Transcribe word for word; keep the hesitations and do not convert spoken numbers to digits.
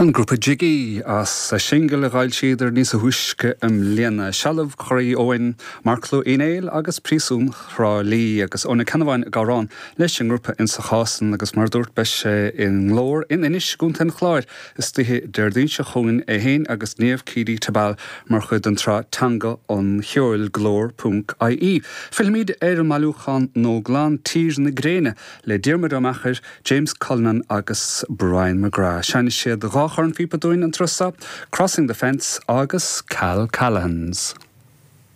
An grúpa Jiggy as a singil a d'fhoilsíodar níos túisce i mbliana Sealbh Chroí Eoin, Marclú Uí Néill agus Príosún Thrá Lí agus Eoin Ó Ceannabháin ag amhrán leis an ngrúpa insa chás san agus mar dúirt beidh sé i nGlór in Inis i gContae an Chláir istoíche Déardaoin seo chugainn é féin agus Niamh Keady Tabal mar chuid den tsraith Teanga an Cheoil glór ponc IE. Fillfimid ar an mbailiúchán Nóglan Tír na Gréine le Diarmuid Ó Meachair, James Cullinan agus Brian McGrath. Seinnfidh siad dhá chornphíopa dúinn an turas seo, Crossing the Fence agus Cal Callahan's.